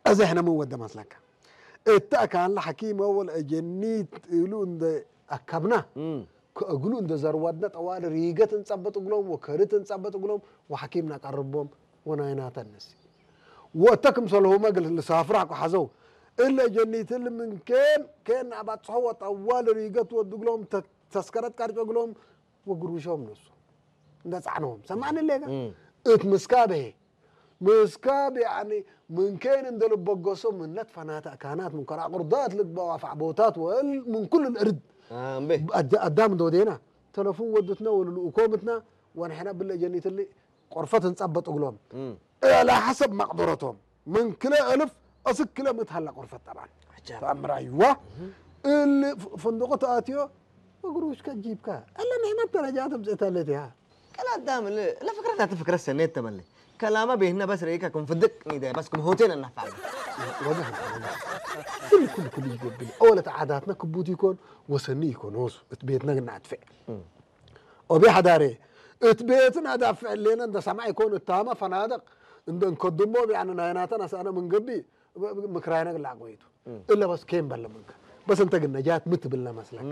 እዚ ሕነ ምን ወደ መስለካ እታ ካንላ ሐኪም ወል እጀኒት እሉ እንደ ኣካብና እም። ከእግሉ እንደ ዘርዋድና ጠዋል ሪገት እንጸበጥ እግሎም ወከርት እንጸበጥ እግሎም ወሐኪም ናቀርቦም ወናይናተንስ ወተ ክምሰልሁመ ግል ልሳፍራ ኳ ሐዘው እለ ጀኒት ል ምን ኬን ኬን ኣባጽሖ ወጠዋል ሪገት ወድግሎም ተ- ተስከረት ቀርጨ እግሎም ወግሩሾም ነሱ እንደ ጻዕነዎም ሰማዕኒ ሌጋ እም። እት ምስካበ ምስካብ ያኒ ምን ኬን እንደ ልበገሶ ምነት ፈናተ ካናት ምን ከራ ቅርዳት ልግባ ዋፋዕ ቦታት ወል ምን ኩሉ ልእርድ ኣምቤ ኣዳም እንደ ወዴና ተለፉን ወድትና ወልልኡኮምትና ወንሕና ብለ ጀኒትሊ ቆርፈት እንጸበጥ እግሎም እም። እላ ሐሰብ መቅደረቶም ምን ክለ እልፍ እስክ ክለ ምት ሀላ ቆርፈት ጠባን عجب. ተአምር አይዋ እል ፍንድቁ ተአትዮ እግሩ እስከ ጂብካ እለ ንሕመት ደረጃ ትምጽእተለት ያ كلا دام لا فكرة لا فكرة سنة تملي كلامه بيهنا بس ريكا كم فدق نيدا بس كم هوتين النفع ወገን ኩሉ ኩሉ ይገብር ኦለት ዓዳትና ክቡት ይኮን ወሰኒ ይኮን ወሱ እቲ ቤትና ግን ኣጥፍዕ ኦቢ ሓዳሬ እቲ ቤትን ኣዳፍዕ ሌና እንደ ሰማዕ ይኮን እታማ ፈናደቅ እንደ እንከድሞ ቢያነ ናይናተን ኣሳነ ምንገቢ ምክራይና ግላዕ ጎይቱ እለ በስ ኬን በለ ምንከ በስ እንተ ግን ነጃት ምትብልና መስለካ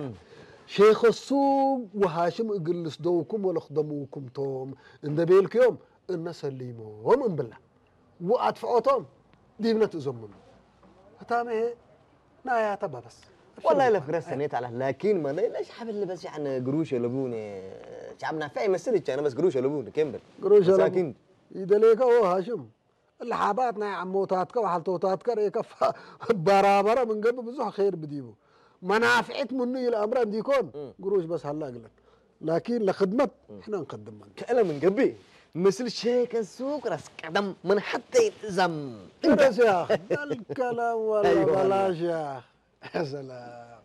ሼኸ ሱብ ወሃሽም እግል ልስደውኩም ወለኽደምውኩም ቶም እንደ ቤልክዮም እነ ሰሊሞም እምብላ ወኣጥፍዖቶም ዲብነት እዞም ምኑ እታመ ናያተ በበስ والله لا فكرة سنيت على لكن ما ليش حبل بس يعني قروش يلبون شعب نافع يمثل كان بس قروش يلبون كمبل قروش يلبون. مساكين ይደሌከ ኦ ሃሽም እለ ሓባት ናይ ዓሞታትከ ወሓልቶታትከ ርእከ በራበረ ምንገብ ብዙሕ ኸይር ብዲቡ መናፍዒት ምኑ ኢለ ኣምረ እንዲኮን ግሩሽ በስ ሃላ ግለት ላኪን ለክድመት ሕነ ንከድመን كألا من قبي مثل شيك السوق راس قدم من حتى يلزم ረስ ያ ዳልከላም ወላ أيوة. በላሽ ያ ሰላም